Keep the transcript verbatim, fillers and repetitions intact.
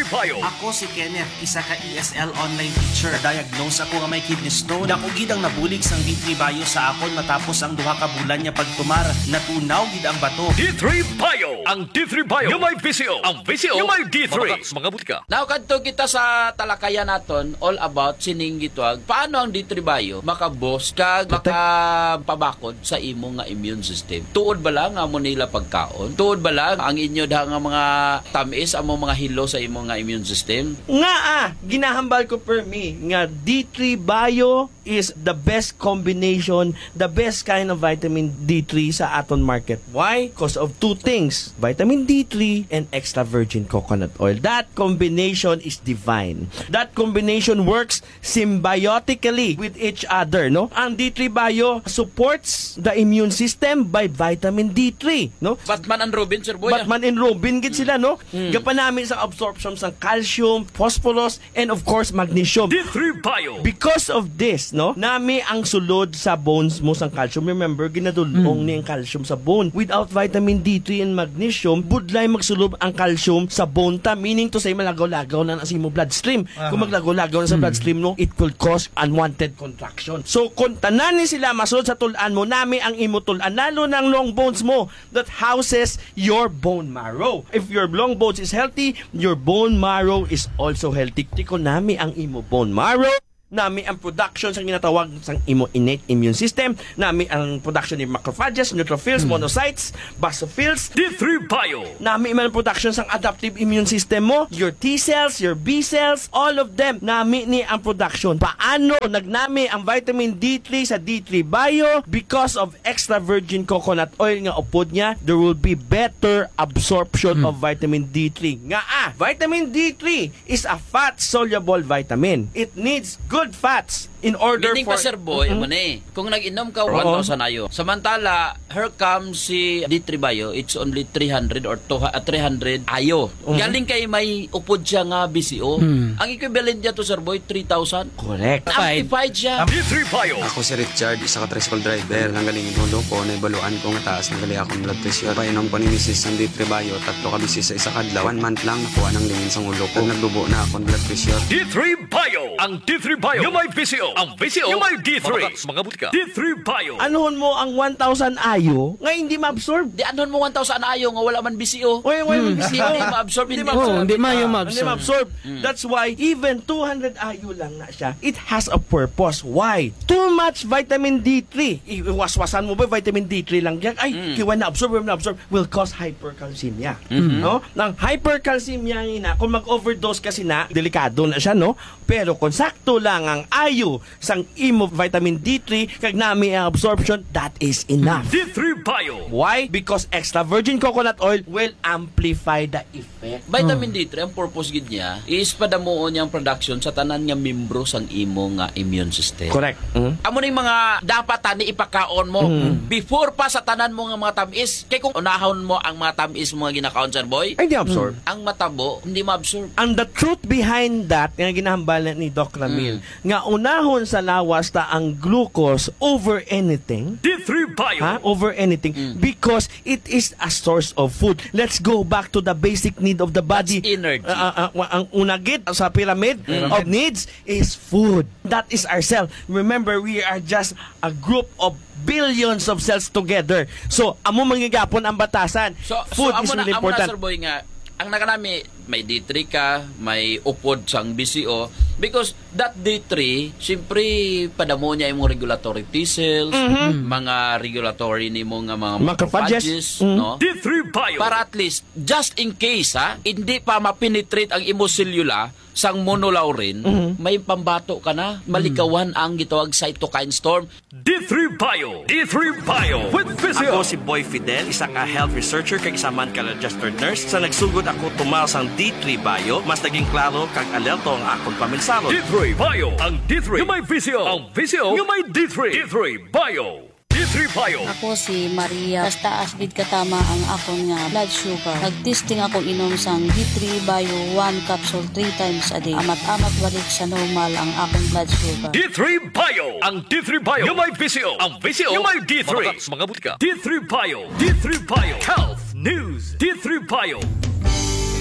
Bio. Ako si Kenneth, isa ka E S L online teacher. Na-diagnose ako nga may kidney stone. Dako gid ang nabulig sang D three Bio sa akon matapos ang duha ka bulan nga pagtumar. Natunaw gid ang bato. D three Bio. Ang D three Bio nga may V C O. Ang V C O nga may D three. Mga butika. Now, kadto kita sa talakayan naton all about sining gitawag paano ang D three Bio maka-boost kag makapabakod sa imo nga immune system. Tuod bala nga amo nila pagkaon? Tuod bala ang inyo da nga mga tamis amo mga hilo sa imo nga immune system? Nga, ah, ginahambal ko, permi, nga D three Bio is the best combination, the best kind of vitamin D three sa aton market. Why? Because of two things, vitamin D three and extra virgin coconut oil. That combination is divine. That combination works symbiotically with each other, no? Ang D three Bio supports the immune system by vitamin D three, no? Batman and Robin, Sir Boy, ah. Batman and Robin gid sila, no? Mm. Gapanami sa absorption sang calcium, phosphorus, and of course, magnesium. D three Bio. Because of this, no, nami ang sulod sa bones mo sang calcium. Remember, ginadul-ong Mm. ni ang calcium sa bone. Without vitamin D three and magnesium, budlay magsulod ang calcium sa bone ta, meaning to say, malagaw-lagaw na na sa imo bloodstream. Kung Aha. maglagaw-lagaw na sa Mm. bloodstream, no, it will cause unwanted contraction. So, kung tanan ni sila masulod sa tul-an mo, nami ang imo tul-an, lalo na ang long bones mo that houses your bone marrow. If your long bones is healthy, your bone marrow is also healthy. Tiko, nami ang imo bone marrow, nami ang production sa ginatawag sang imo innate immune system, nami ang production ni macrophages, neutrophils, Hmm. monocytes, basophils. D three Bio. Nami man ang production sang adaptive immune system mo, your T cells, your B cells, all of them. Nami ni ang production. Paano nagnami ang vitamin D three sa D three Bio? Because of extra virgin coconut oil nga upod niya, there will be better absorption Hmm. of vitamin D three. Nga, ah, vitamin D three is a fat-soluble vitamin. It needs good fats in order Meaning for pa, Sir Boy, Mm-mm. amo ni, kung nag-inom ka Oo. one thousand ayo, samantala, here comes si D three Bio, it's only three hundred or two, ah, three hundred ayo. Oo. Galing kay may upod siya nga V C O. Mm. Ang equivalent niya to, Sir Boy, three thousand. Correct. Amplified siya. D three Bio. Ako si Richard, isa ka tricycle driver. Nanggaling ang ulo ko, naibaluan ko nga taas na gali akong blood pressure. Painom ko ni misis sang D three Bio, tatlo ka bisis sa isa ka adlaw. One month lang, nakuha nang lingin sang ulo ko. Nagdubo na akong blood pressure. D three Bio. Ang D three Bio nga may V C O. Ang V C O nga may D three. Mga butika. D three Bio. Anuhon mo ang one thousand ayo nga hindi ma-absorb? Di, anuhon mo one thousand ayo nga wala man V C O? Oy, wala man Hmm. V C O. Hindi ma-absorb, Hindi hindi ma-absorb. ma-absorb. Oh, hindi maayo Ah, ma-absorb. hindi ma-absorb. Hmm. That's why even two hundred ayo lang na siya, it has a purpose. Why? Too much vitamin D three. Iwaswasan mo ba vitamin D three lang yan? Ay, Hmm. kiwa na-absorb, wala na-absorb. Will cause hypercalcemia. Mhm. No? Nang hypercalcemia nga ina, kung mag-overdose ka sina, delikado na siya, no? Pero kung sakto lang ang ayo sang imo vitamin D three, kag nami ang absorption, that is enough. D three Bio. Why? Because extra virgin coconut oil will amplify the effect. Vitamin Hmm. D three, ang purpose gid niya is padamuon niya ang production sa tanan nga membro sang imo nga immune system. Correct. Mm. Amo ning mga dapat tani ipakaon mo Mm. before pa sa tanan mo nga mga tamis. Kay kung unahon mo ang mga tamis mo nga ginakaon, Sir Boy, Ay, di absorb. ang matabo, hindi ma-absorb. And the truth behind that, nga ginahambal ni Doc Ramil, Mm. nga unahon sa lawas ta ang glucose over anything. D three Bio. Ha? Over anything. Mm. Because it is a source of food. Let's go back to the basic need of the body. That's energy. Ah, ah, ah, wa-, ang una gid sa pyramid Mm. of needs is food. That is ourself. Remember, we are just a group of billions of cells together. So, amo man gyapon ang batasan. So, so, Food amo is na, really amo na, important. Sir Boy, nga, ang nakanami, may D three ka, may upod sang V C O, because that D three, siyempre, padamo niya imong regulatory T cells, Mhm. mga regulatory nimo nga mga Macrophages. macrophages, Mhm. no? D three Bio. Para at least, just in case, ha, hindi pa ma-penetrate ang imo selula sang monolaurin, Mhm. may pambato ka na, malikawan ang gitawag cytokine storm. D three Bio. D three Bio with Ako Physio. si Boy Fidel, isa ka health researcher kag isa man ka registered nurse. Sa nagsugod ako tumal sang D three Bio, mas naging klaro kag alerto ang akon paminsaro. D three Bio. Ang D three nga may V C O. Ang V C O nga may D three. D three Bio. D three Bio. Ako si Maria. Mas taas gid katama ang akon nga blood sugar. Nag-testing ako inom sang D three Bio, one capsule three times a day. Amat-amat balik sa normal ang akon blood sugar. D three Bio. Ang D three Bio nga may V C O. Ang V C O nga may D three. Mga, mga butika. D three Bio. D three Bio. Health News. D three Bio.